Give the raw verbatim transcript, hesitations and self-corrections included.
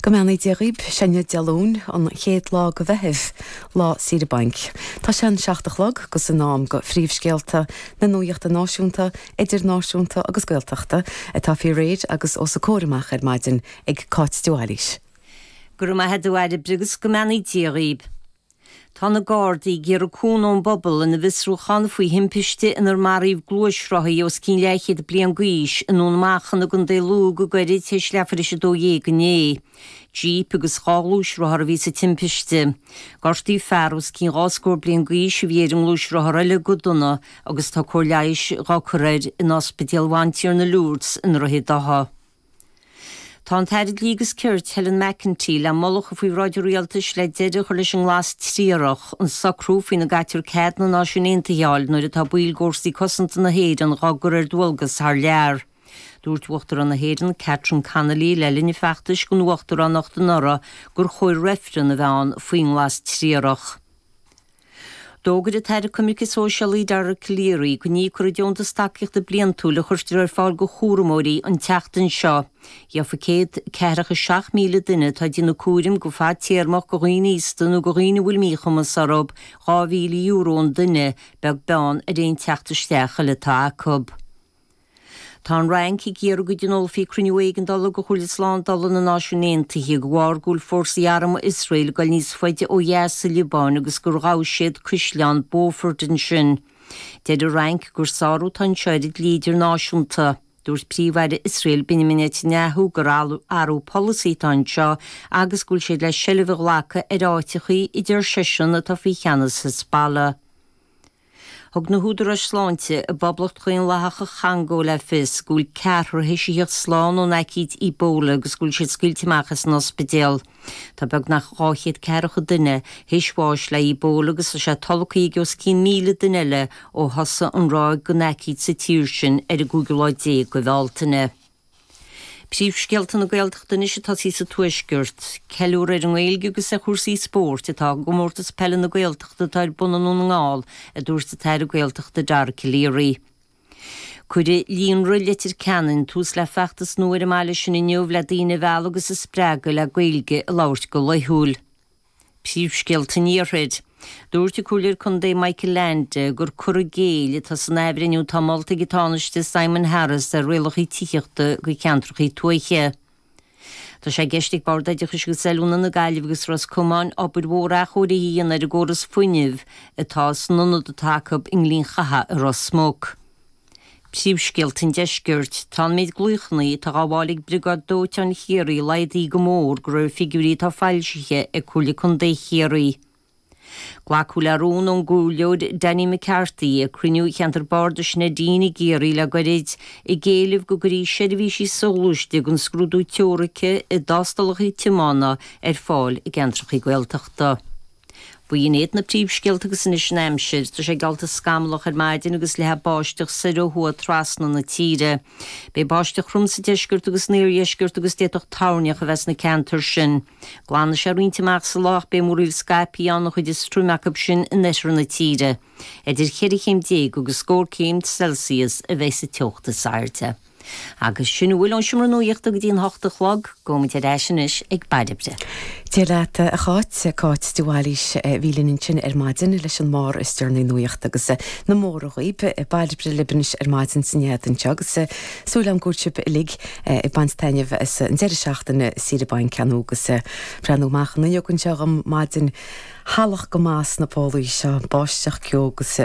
Go mbeannaí Dia dhaoibh, sé inniu Dé Luain, an chéad lá de Mheitheamh, lá saoire bainc. Tá sé an seacht a chlog agus in am do phríomhscéalta na nuachta náisiúnta, idirnáisiúnta agus Gaeltachta atá faoi réir agus os a comhair amach ar maidin ag Cáit de Bhailís. Go raibh maith agat a Bhairbre agus go mbeannaí Dia dhaoibh. Tá na Gardaí ag iarraidh cúnamh ón bpobal ina bhfiosrúchán faoi thimpiste inar maraíodh gluaisrothaí os cionn leathchéad bliain d'aois i nDún Machan i gContae Lú go gairid tar éis leathuair tar éis a dó dhéag inné. Jíp agus dhá ghluaisrothar a bhí sa timpiste. Gortaíodh fear os cionn dhá scór bliain d'aois a bhí ar an ngluaisrothar eile go dona agus tá cóir leighis dhá cur air in Ospidéal Bhantiarna Lourdes i nDroichead Átha. Tá an tAire Dlí agus Cirt Helen McEntee le moladh a chur faoi bhráid an rialtais le deireadh a chur leis an nglas triarach, an socrú faoina gcaitear cead na Náisiún Aontaithe a fháil nuair atá baill d'fhórsaí cosanta na hÉireann dhá gcur ar dualgas thar lear. Dúirt Uachtarán na hÉireann Catherine Connolly le linn a feachtais don uachtaránacht anuraidh gur chóir reifreann a bheith ann faoin nglas triarach. D'fhógair an tAire Coimirce Sóisialaí Dara Calleary go n-íocfar an deontas tacaíochta bliantúil a chuirtear ar fáil do chúramóirí an tseachtain seo. Gheofa céad ceathracha seacht míle duine atá ag déanamh cúraim go fadtéarmach do dhaoine aosta nó do dhaoine a bhfuil míchumas orthu dhá mhíle euro an duine, beag beann ar aon teacht isteach eile atá acu. Tá an Fhrainc ag iarraidh go dtionólfaí cruinniú éigeandála de Chomhairle Slándála na Náisiún Aontaithe de bharr go bhfuil fórsaí armtha Iosrael ag dul níos faide ó dheas sa Liobáin agus gur ghabh siad caisleán Beaufort ansin. Deir an Fhrainc gur sárú atá anseo ar an dlí idirnáisiúnta. Dúirt Príomh-Aire Iosrael Benjamin Netanyahu gur athrú polasaí atá anseo agus go bhfuil siad le seilbh a ghlacadh ar áiteachaí a deir seisean atá faoi cheannas Hezbollah. Thug na húdaráis sláinte i bPoblacht Dhaonlathach an Chongó le fios go bhfuil ceathrar théis a theacht slán ón aicíd Ebola agus go bhfuil siad scaoilte amach as an ospidéal. Tá beagnach dhá chéad ceathracha duine théis bháis le Ebola agus tá sé tolgtha ag os cionn míle duine eile ó thosaigh an ráig den aicíd sa tír sin ar an gcúigiú lá déag de Bhealtaine. Príomhscéalta na Gaeltachta anois ag tosaí sa Tuaisceart. Ceiliúradh ar an nGaeilge agus ar chúrsaí spóirt atá i gComórtas Peile na Gaeltachta atá ar bun i nDún na nGall, a dúirt an tAire Gaeltachta Dara Calleary. Cuirfidh Líonra Leitir Ceanainn tús le feachtas nua ar an mbaile sin inniu le daoine a mhealladh agus a spreagadh le Gaeilge a labhairt go laethúil. Príomhscéalta an Iarthair. Dúirt an Comhairleoir Contae Michael Leainde gur cur i gcéill atá san athbhreithniú atá molta ag an Tánaiste Simon Harris ar rialacha tithíochta do cheantracha tuaithe. Tá sé i gceist ag Bord Oideachais agus Oiliúna na Gaillimhe agus Ros Comáin obair mhór athchóirithe a dhéanamh ar an gcóras fuinnimh atá san ionad atá acu i nGleann Chatha i Ros Muc. Príomhscéalta an Deiscirt. Tá an méid glaochanna atá á bhfáil ag Briogáid Dóiteáin Chiarraí laghdaithe go mór de réir figiúirí atá foilsithe ag Comhairle Contae Chiarraí. Glacadh le rún ón gComhairleoir Danny McCarthy ag cruinniú Cheantar Bardais Neidín i gCiarraí le goirid, ag éileamh go gcuirfí seirbhísí soghluaiste don scrúdú teoirice i dtástálacha tiomána ar fáil i gceantracha Gaeltachta. B'in iad na príomhscéalta agus anois an aimsir. Tá sé geallta scamallach ar maidin agus leathfaidh báisteach soir ó thuaidh trasna na tíre. Beidh báisteach throm sa deisceart agus san iardheisceart agus d'fhéadfadh toirneach a bheith sna ceantair sin. Glanfaidh sé roinnt amach sa lá ach beidh múraíl scaipthe ann, an chuid is troime acu sin in oirthear na tíre. Idir cheithre chéim déag agus scór céim Celsius a bheidh sa teocht is airde. Agus sin a bhfuil ón Seomra Nuachta go dtí an hocht a chlog, gabhfaimid ar ais anois ag Bairbre. Dia leat a Cháit, Cáit de Bhailís a bhí linn ansin ar maidin leis an mbarr is deireanaí nuachta agus na móra dhaoib. Bairbre libh anois ar maidin san éadan anseo agus súil agam go bhfuil sibh uilig ag baint taitneamh as an deireadh seachtaine saoire bainc cheana agus breathnú amach an fhuinneog anseo dhom maidin shalach go maith sna pólaí seo, báisteach ceo agus